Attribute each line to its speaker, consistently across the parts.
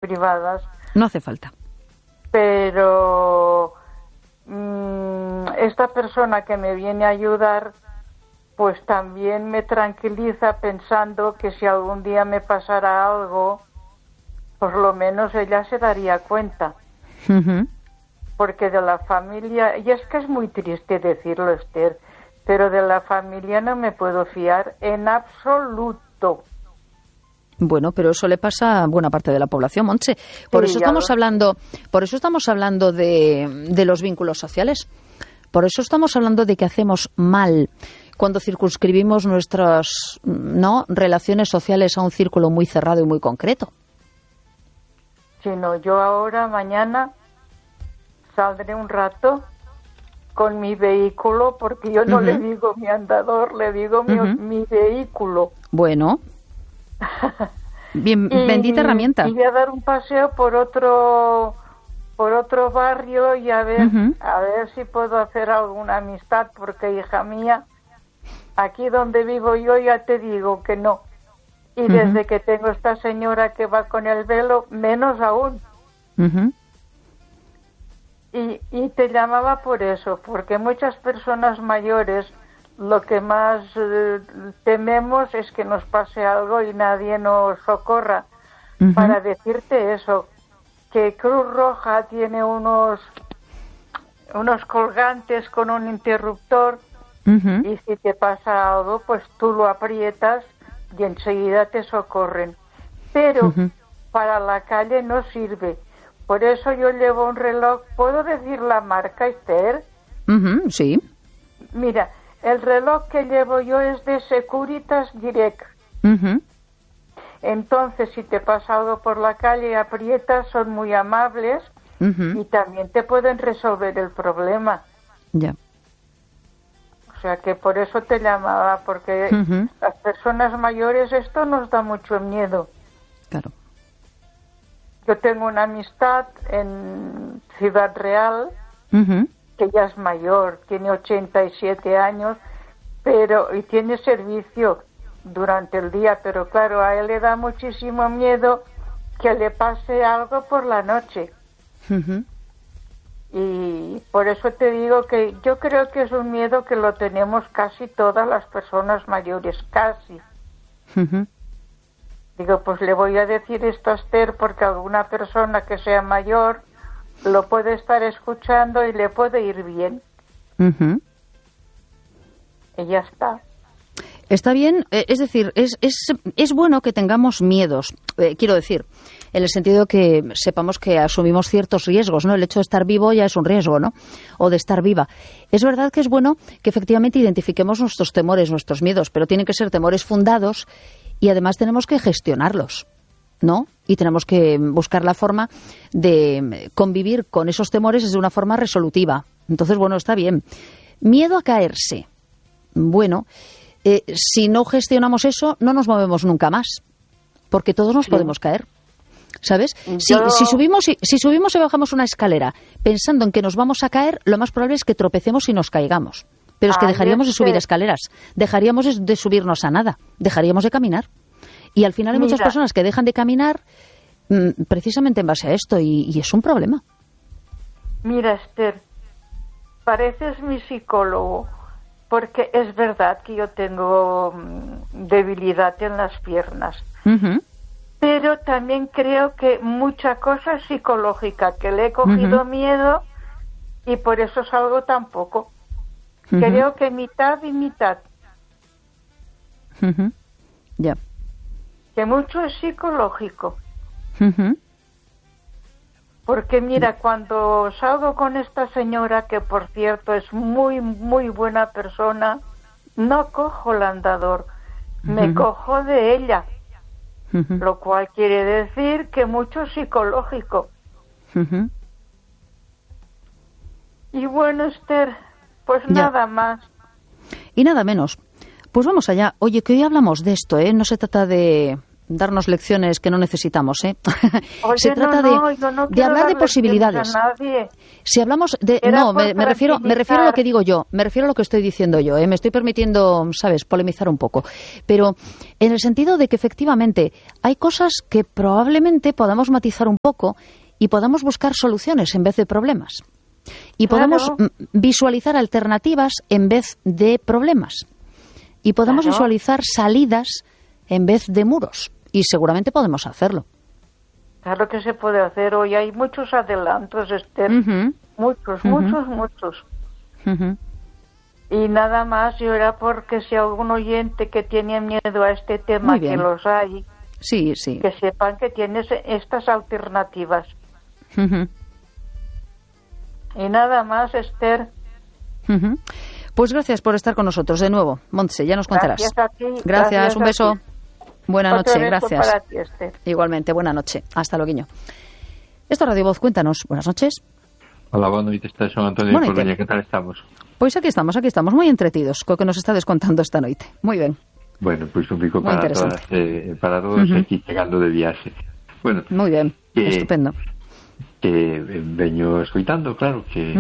Speaker 1: privadas.
Speaker 2: No hace falta.
Speaker 1: Pero esta persona que me viene a ayudar, pues también me tranquiliza pensando que si algún día me pasara algo, por lo menos ella se daría cuenta.
Speaker 2: Uh-huh.
Speaker 1: Porque de la familia, y es que es muy triste decirlo, Esther, pero de la familia no me puedo fiar en absoluto.
Speaker 2: Bueno, pero eso le pasa a buena parte de la población, Montse. Por eso estamos hablando de los vínculos sociales. Por eso estamos hablando de que hacemos mal cuando circunscribimos nuestras relaciones sociales a un círculo muy cerrado y muy concreto.
Speaker 1: Si no, yo ahora, mañana, saldré un rato con mi vehículo, porque yo no le digo mi andador, le digo mi vehículo.
Speaker 2: Bueno, bien, bendita herramienta.
Speaker 1: Y voy a dar un paseo por otro barrio y a ver si puedo hacer alguna amistad, porque, hija mía, aquí donde vivo yo ya te digo que no. Y desde que tengo esta señora que va con el velo, menos aún. Y te llamaba por eso, porque muchas personas mayores lo que más tememos es que nos pase algo y nadie nos socorra. Para decirte eso, que Cruz Roja tiene unos colgantes con un interruptor y si te pasa algo, pues tú lo aprietas y enseguida te socorren. Pero para la calle no sirve. Por eso yo llevo un reloj. ¿Puedo decir la marca, Esther?
Speaker 2: Sí.
Speaker 1: Mira, el reloj que llevo yo es de Securitas Direct. Entonces, si te pasa algo por la calle y aprietas, son muy amables y también te pueden resolver el problema.
Speaker 2: Ya.
Speaker 1: O sea que por eso te llamaba, porque las personas mayores esto nos da mucho miedo.
Speaker 2: Claro.
Speaker 1: Yo tengo una amistad en Ciudad Real, que ya es mayor, tiene 87 años, y tiene servicio durante el día, pero claro, a él le da muchísimo miedo que le pase algo por la noche. Y por eso te digo que yo creo que es un miedo que lo tenemos casi todas las personas mayores, casi. Digo, pues le voy a decir esto a Esther porque alguna persona que sea mayor lo puede estar escuchando y le puede ir bien. Y ya está.
Speaker 2: Está bien, es decir, es bueno que tengamos miedos, quiero decir, en el sentido que sepamos que asumimos ciertos riesgos, ¿no? El hecho de estar vivo ya es un riesgo, ¿no? O de estar viva. Es verdad que es bueno que efectivamente identifiquemos nuestros temores, nuestros miedos, pero tienen que ser temores fundados y además tenemos que gestionarlos, ¿no? Y tenemos que buscar la forma de convivir con esos temores de una forma resolutiva. Entonces, bueno, está bien. Miedo a caerse. Bueno, si no gestionamos eso, no nos movemos nunca más, porque todos nos podemos caer, ¿sabes? Si subimos y bajamos una escalera pensando en que nos vamos a caer, lo más probable es que tropecemos y nos caigamos. Pero es que dejaríamos de subir escaleras, dejaríamos de subirnos a nada, dejaríamos de caminar. Y al final hay muchas personas que dejan de caminar precisamente en base a esto, y es un problema.
Speaker 1: Mira, Esther, pareces mi psicólogo, porque es verdad que yo tengo debilidad en las piernas. Pero también creo que mucha cosa es psicológica, que le he cogido miedo y por eso salgo tan poco. Creo que mitad y mitad.
Speaker 2: Ya.
Speaker 1: Que mucho es psicológico. Porque mira, cuando salgo con esta señora, que por cierto es muy, muy buena persona, no cojo el andador, me cojo de ella. Lo cual quiere decir que mucho psicológico. Y bueno, Esther, pues nada más.
Speaker 2: Y nada menos. Pues vamos allá. Oye, que hoy hablamos de esto, ¿eh? No se trata de darnos lecciones que no necesitamos, ¿eh?
Speaker 1: Oye,
Speaker 2: Se trata de hablar de posibilidades. Si hablamos de... No, me refiero a lo que digo yo, me refiero a lo que estoy diciendo yo, ¿eh? Me estoy permitiendo, ¿sabes?, polemizar un poco. Pero en el sentido de que efectivamente hay cosas que probablemente podamos matizar un poco y podamos buscar soluciones en vez de problemas. Y podemos visualizar alternativas en vez de problemas. Y podemos visualizar salidas en vez de muros. Y seguramente podemos hacerlo.
Speaker 1: Claro que se puede hacer. Hoy hay muchos adelantos, Esther. Muchos. Y nada más, yo era porque si algún oyente que tiene miedo a este tema, que los hay,
Speaker 2: sí.
Speaker 1: que sepan que tienes estas alternativas. Y nada más, Esther.
Speaker 2: Pues gracias por estar con nosotros de nuevo, Montse, ya nos contarás.
Speaker 1: Gracias a ti.
Speaker 2: Gracias, un beso. Buena noche, gracias.
Speaker 1: Para ti, Esther.
Speaker 2: Igualmente, buena noche. Hasta luego. Esto es Radio Voz, cuéntanos. Buenas noches.
Speaker 3: Hola, buenas noches, son Antonio de Coruña. ¿Qué tal estamos?
Speaker 2: Pois aquí estamos moi entretidos co que nos estades contando esta noite. Moi ben.
Speaker 3: Bueno, pois un pico para todos aquí chegando de viaxe. Bueno,
Speaker 2: moi ben, estupendo.
Speaker 3: Que veño escoitando, claro, que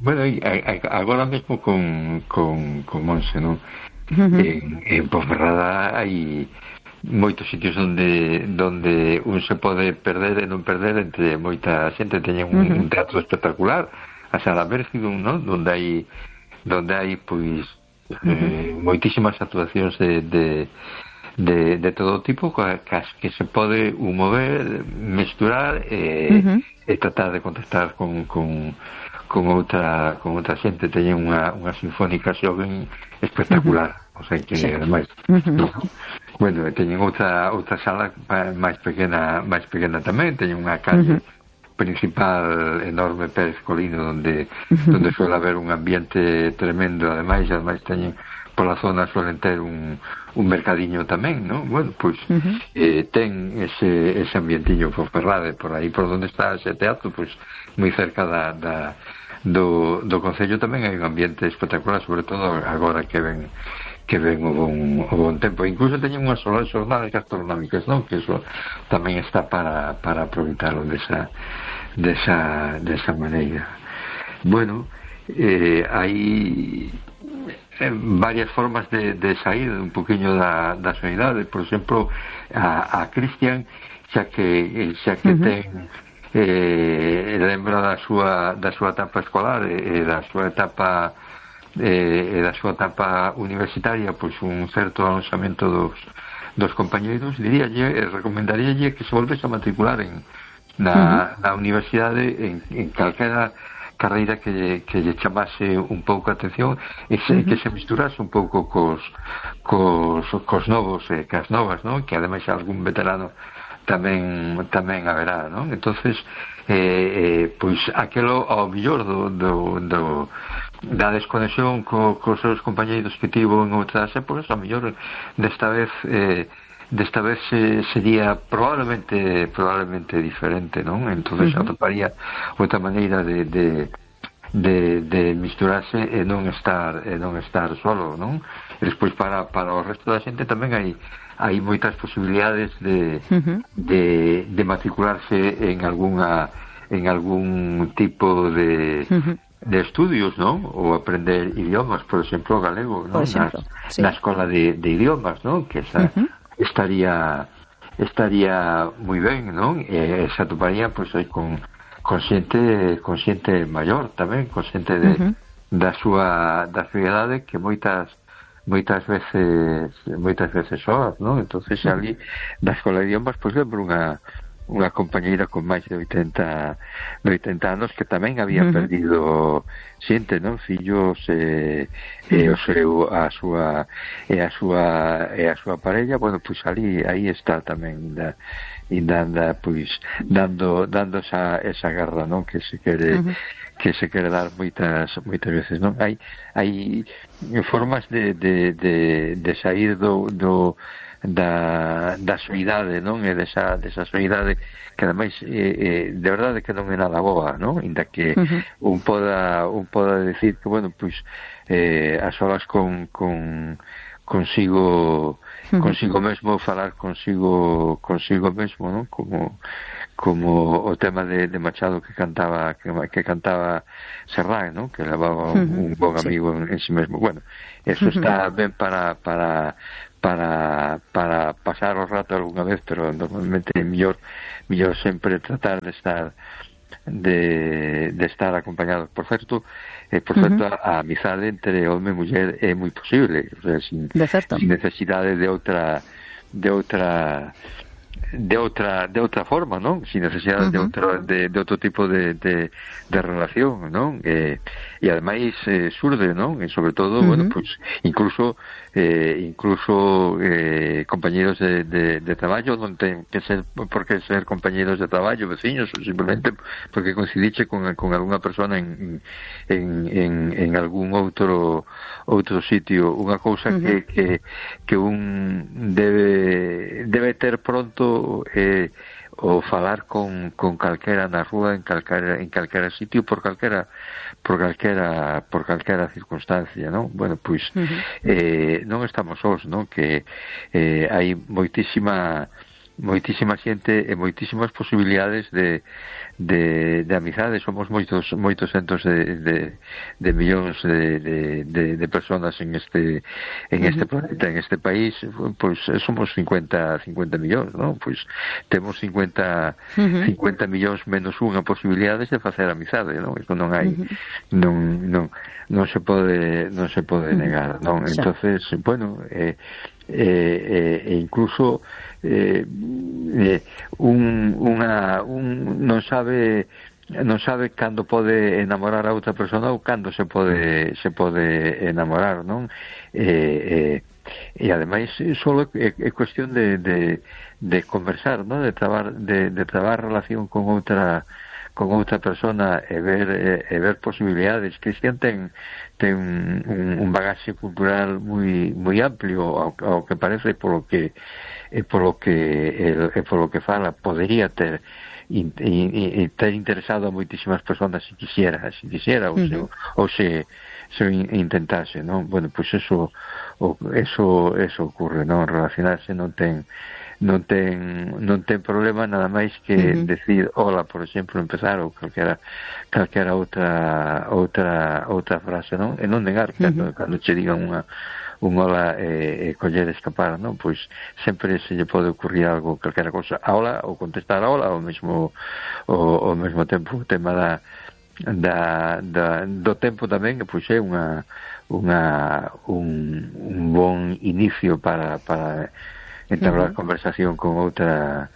Speaker 3: bueno, agora mesmo con Monse, non? En Ponferrada hai moitos sitios onde un se pode perder e non perder entre moita xente. Teñen un teatro espectacular, a Sala Mércido, non? Donde hai pois moitísimas actuacións de todo tipo, que se pode mover, mesturar e tratar de contactar con outra xente. Teñen unha sinfónica xoven espectacular, o sea que ademais bueno, teñen outra sala máis pequena tamén, teñen unha calle principal enorme, Pérez Colino, donde suele haber un ambiente tremendo. Ademais teñen pola zona, suelen ter un mercadiño tamén, non? Bueno, pois ten ese ambientillo por Ferrade, por aí por onde está ese teatro, pois moi cerca do Concello tamén hai un ambiente espectacular, sobre todo agora que ven o bon tempo. Incluso teñen unhas xornadas gastronómicas, non? Que eso tamén está para aproveitarlo desa maneira. Bueno, hai varias formas de sair un poquinho da sanidade. Por exemplo, a Cristian, xa que ten lembra da súa etapa escolar e da súa etapa universitaria, pois un certo avanzamento dos compañeiros, recomendaríalle que se volvese a matricular na universidade en calquera carreira que lle chamase un pouco a atención e que se misturase un pouco cos novos e cas novas, non? Que ademais algún veterano tamén haberá, non? Entonces pois aquelo ao mellor da desconexión cos seus compañeiros que tivo en outras épocas, ao mellor desta vez sería probablemente diferente, non? Entonces atoparía outra maneira de misturarse e non estar solo, non? E despois para o resto da xente tamén hai moitas posibilidades de matricularse en algún tipo de estudios, non? Ou aprender idiomas, por exemplo, o galego, non? Na escola de idiomas, non? Que estaría moi ben, non? E se atoparía pois con xente maior tamén, con xente da súa idade, que moitas veces soas, non? Entonces ali da escola de idiomas pois lembro unha compañeira con máis de 80 anos que tamén había perdido xente, non? Fillos a súa parella. Bueno, pois aí está tamén ainda pois dando esa garra, non? Que se quere dar moitas veces, non? Hai formas de sair da soidade, non? E desa soidade que ademais de verdade que non é nada boa, non? Inda que un poda decir que, bueno, pois a solas con consigo mesmo falar consigo mesmo, non? Como o tema de Machado que cantaba Serrán, ¿no? Que levaba un bon amigo en sí mesmo. Bueno, eso está ben para pasar o rato algunha vez, pero normalmente é mellor sempre tratar de estar acompañados. Por certo, a amizade entre home e muller é moi posible, o sea, sin necesidade de outra forma, non? Sin necesidade de outro tipo de relación, non? E ademais surde, non? E sobre todo, bueno, pues incluso compañeros de traballo non ten que ser por que ser compañeros de traballo, veciños, simplemente porque coincidiche con algunha persona en algún outro sitio. Unha cousa que un debe ter pronto o falar con calquera na rúa, en calquera sitio, por calquera circunstancia, non? Bueno, pois non estamos sós, non? Que hai moitísima xente e moitísimas posibilidades de amizade. Somos moitos centos de millóns de personas en este planeta, en este país. Pois somos 50 millóns, non? Pois temos 50 millóns menos unha posibilidades de facer amizade, non? Iso non hai non se pode negar, non? Entonces, bueno, incluso non sabe cando pode enamorar a outra persona ou cando se pode enamorar, non? E ademais só é cuestión de conversar, non? De trabar relación con outra persona e ver posibilidades. Cristian ten un bagaxe cultural moi amplio, ao que parece, polo que fala, podería ter interesado a moitísimas personas se quisiera ou se intentase, non? Bueno, pois eso ocurre, non? Relacionarse non ten problema, nada máis que decir hola, por exemplo, empezar, ou calquera outra frase, non? E non negar cando che digan un hola e coller escapar, non? Pois sempre se lle pode ocurrir algo, calquera cosa, a hola, ou contestar a hola, ao mesmo tempo. O tema do tempo tamén, pois é un bon inicio para entablar conversación con outra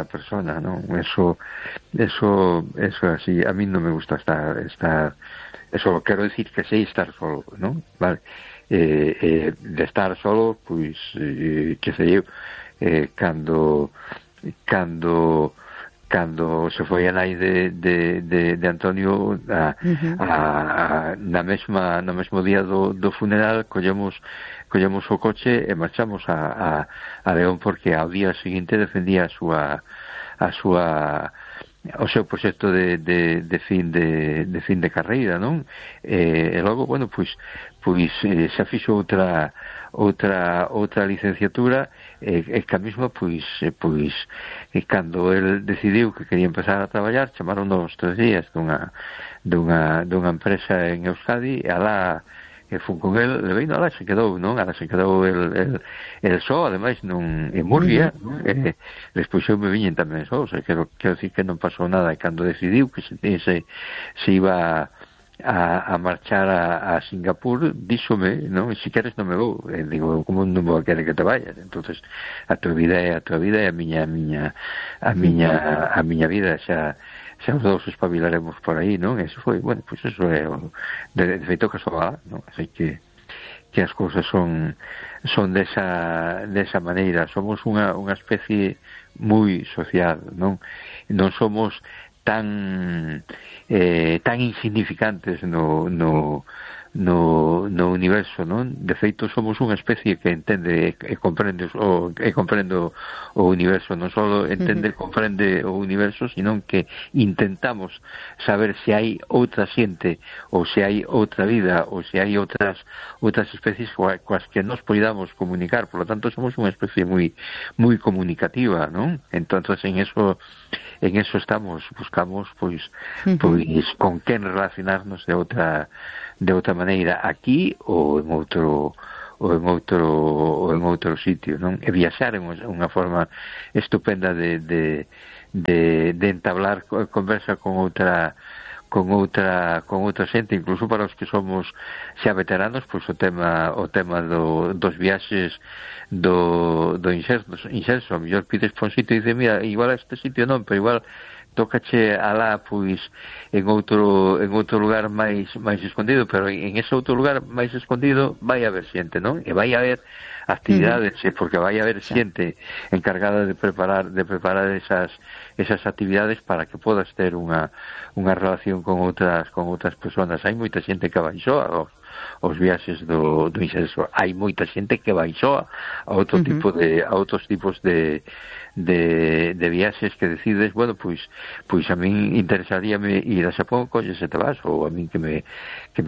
Speaker 3: persona, non? Eso así, a mí non me gusta estar eso, quero decir que sei estar solo, non? Vale. De estar solo, pois que sei eu, cando se foi a nai de Antonio no mesmo día do funeral, collemos o coche e marchamos a León, porque ao día seguinte defendía o seu proxecto de fin de carreira, non? E logo, bueno, pois xa fixo outra licenciatura e que a mesma, pois cando el decidiu que quería empezar a traballar, chamaron 2 3 días dunha empresa en Euskadi, e alá que fun con el, leveino, alá se quedou, non? Alá se quedou el só, ademais non en Murcia, non? Despois eu me viñen tamén só, o sea, quero dicir que non pasou nada, e cando decidiu que se iba a marchar a Singapur, díxome, non? Se queres non me vou. E digo, como non vou a querer que te vayas? Entonces, a tua vida é a tua vida, e a miña vida, xa os dous espabilaremos por aí, non? Eso foi, bueno, pois eso é de feito casual, non? Así que as cousas son desa maneira. Somos unha especie moi social, non? Non somos tan insignificantes no universo, non? De feito somos unha especie que entende e comprende o universo, non só entende e comprende o universo, sino que intentamos saber se hai outra xente ou se hai outra vida ou se hai outras especies coas que nos podamos comunicar. Por lo tanto somos unha especie moi comunicativa, non? Entonces en eso buscamos pois con quen relacionarnos de outra maneira aquí ou en outro sitio, non? E viaxar é unha forma estupenda de entablar conversa con outra xente, incluso para os que somos xa veteranos, pois o tema dos viaxes do inserso, a mellor pides por un sitio e dice, mira, igual a este sitio non, pero igual tócache alá, pois, en outro lugar máis escondido, pero en ese outro lugar máis escondido vai haber xente, non? E vai haber actividades, porque vai haber xente encargada de preparar esas actividades para que podas ter unha relación con outras persoas. Hai moita xente que vai soa aos viaxes do inserso, hai moita xente que vai soa a outros tipos de viaxes que decides, bueno, pois a min interesaríame ir a Xapón, colles e te vas, ou a min que me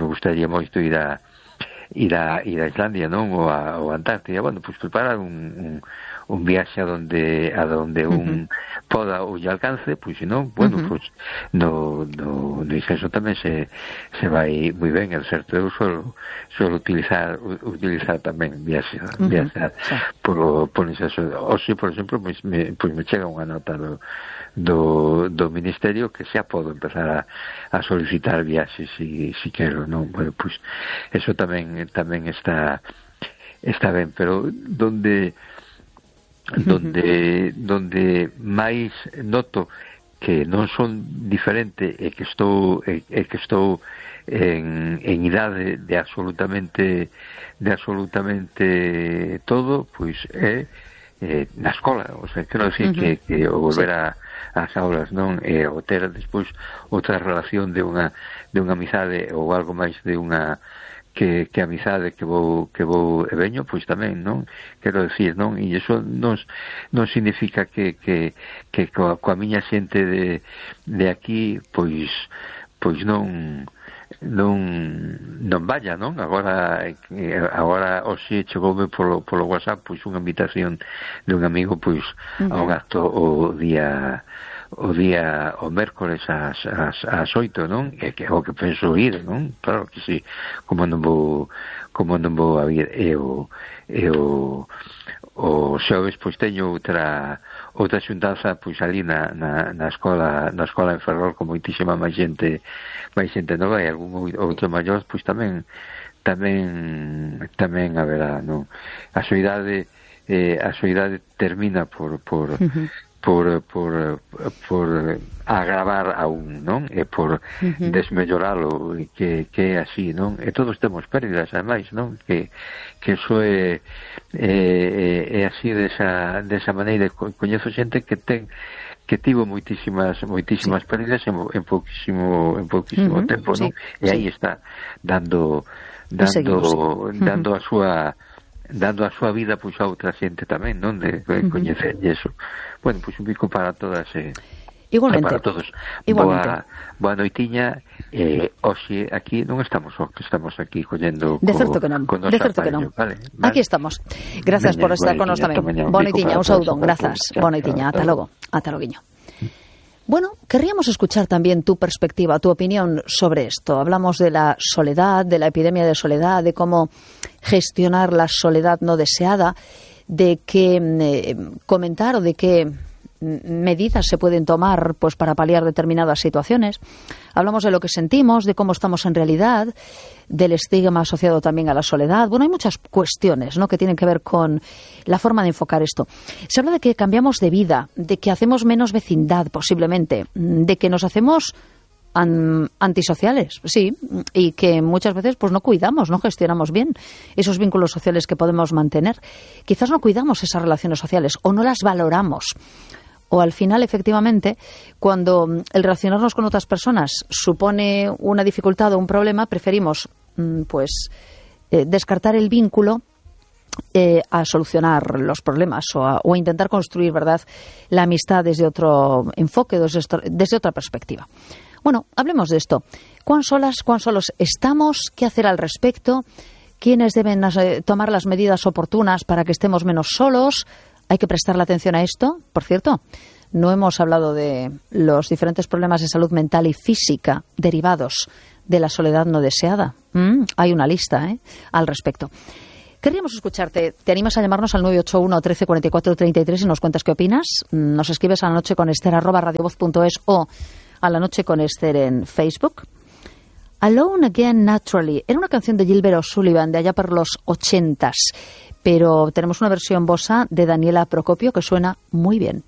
Speaker 3: gustaría moito ir a Islandia, non? Ou a Antártida, bueno, pois preparar un viaxe a donde un poda ou lle alcance, pois se non, bueno, pois no inserso tamén se vai moi ben, é certo. Eu suelo utilizar tamén viaxar por inserso. Oxe, por exemplo, pois me chega unha nota do Ministerio que xa podo empezar a solicitar viaxes si quero, non? Bueno, pois eso tamén está ben, pero donde máis noto que non son diferente e que estou en idade de absolutamente todo, pois é na escola. O sea, quero dicir que o volver ás aulas, non? E o ter despois outra relación de unha amizade ou algo máis de unha que amizade que vou e veño, pois tamén, non? Quero dicir, non? E iso non significa que coa miña xente de aquí pois non vaya, non? Agora hoxe chegoume polo WhatsApp pois unha invitación de un amigo pois a un acto o mércores ás 8, non? E que o que penso ir, non? Claro que sí, como non vou a ir. E o xoves pois teño outra xuntanza pois ali na escola en Ferrol con moitísima máis xente nova, e algún outro maior pois tamén haberá, non? A soidade termina por agravar aún, non? E por desmelloralo, que é así, non? E todos temos pérdidas, ademais, non? Que eso é así desa maneira. Coñezo xente que tivo moitísimas pérdidas en pouquísimo tempo, non? E aí está dando a súa vida pois a outra xente tamén, non? De coñecer eso. Bueno, pois un bico para todas
Speaker 2: igualmente.
Speaker 3: Para todos. Boa noitiña. Hoxe aquí non estamos aquí collendo
Speaker 2: de certo que non. Vale. Aquí estamos. Gracias por estar con nos tamén. Boa noitiña, un saudón, grazas. Boa noitiña, ata logo. Ata loguiño. Bueno, querríamos escuchar también tu perspectiva, tu opinión sobre esto. Hablamos de la soledad, de la epidemia de soledad, de cómo gestionar la soledad no deseada, de qué comentar o de qué medidas se pueden tomar pues para paliar determinadas situaciones. Hablamos de lo que sentimos, de cómo estamos en realidad, del estigma asociado también a la soledad. Bueno, hay muchas cuestiones, ¿no?, que tienen que ver con la forma de enfocar esto. Se habla de que cambiamos de vida, de que hacemos menos vecindad posiblemente, de que nos hacemos antisociales, sí, y que muchas veces pues no cuidamos, no gestionamos bien esos vínculos sociales que podemos mantener. Quizás no cuidamos esas relaciones sociales o no las valoramos. O al final, efectivamente, cuando el relacionarnos con otras personas supone una dificultad o un problema, preferimos pues descartar el vínculo a solucionar los problemas o a intentar construir, ¿verdad?, la amistad desde otro enfoque, desde otra perspectiva. Bueno, hablemos de esto. ¿Cuán solos estamos? ¿Qué hacer al respecto? ¿Quiénes deben tomar las medidas oportunas para que estemos menos solos? ¿Hay que prestarle atención a esto? Por cierto, no hemos hablado de los diferentes problemas de salud mental y física derivados de la soledad no deseada. Hay una lista al respecto. Querríamos escucharte. ¿Te animas a llamarnos al 981 13 44 33 y nos cuentas qué opinas? Nos escribes a lanocheconester@radiovoz.es o a La Noche con Esther en Facebook. Alone Again Naturally era una canción de Gilbert O'Sullivan de allá por los 80s, pero tenemos una versión bossa de Daniela Procopio que suena muy bien.